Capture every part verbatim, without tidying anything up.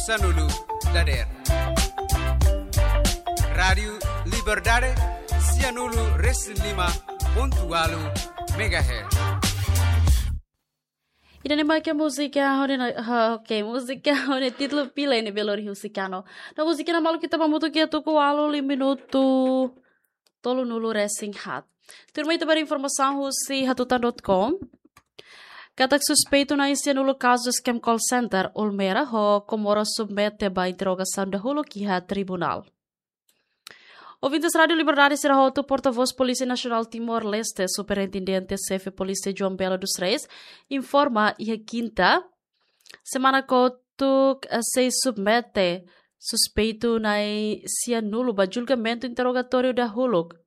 Sanulu dader. Rádiu Liberdade, sianulu resin lima pontu walu megahertz. Ida-ne'e mak múzika hone na, ha, oke, múzika hone títulu Pile ne'ebé lori husi Kano. No múzika ne'e maluk ita hamutuk iha tuku ualu liu minutu tolunulu resin haat. Tuirmai ita ba informasaun husi hatutan dot com. Katak suspeitu na'in sianulu kazu scam call center Ulmera ho Komoro submete ba interrogasaun dahuluk iha tribunál. Ouvintes Rádiu Liberdade sira hotu, portavós Polísia Nasionál Timor-Leste, Superintendente Xefe Polísia João Belo dos Reis, informa iha kinta semana kotuk, eh, sei submete suspeitu na'in sianulu ba julgamentu interrogatóriu dahuluk.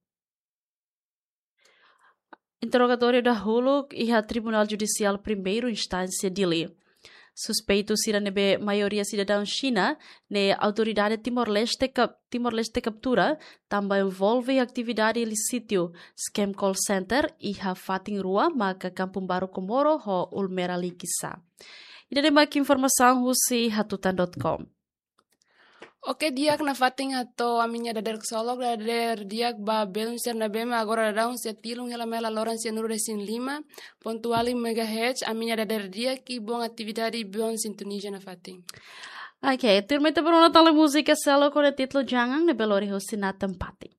Interrogatóriu dahuluk iha Tribunál Judisiál Primeira Instánsia Dili. Suspeitu sira ne'ebé maioria sidadaun Xina ne'e autoridade Timor-Leste kap-, Timor-Leste kaptura tanba envolve atividade ilísitu scam call center iha fatin rua maka Kampung Baru Komoro ho Ulmera Likisá. Ida-ne'e mak informasaun husi hatutan dot com. Oke, di'ak nafatin, hato'o ami-nia dadeer ksolok, dadeer di'ak ba belun sira ne'ebé mak agora daudaun sei tilun hela mai laloran sianulu resin lima pontu walu megahertz, ami-nia dadeer di'ak i bom atividade, bom sintonia nafatin. Oke, tuirmai ita ba rona tan múzika seluk hone títulu Jangan ne'ebé lori husi Nathan Pati.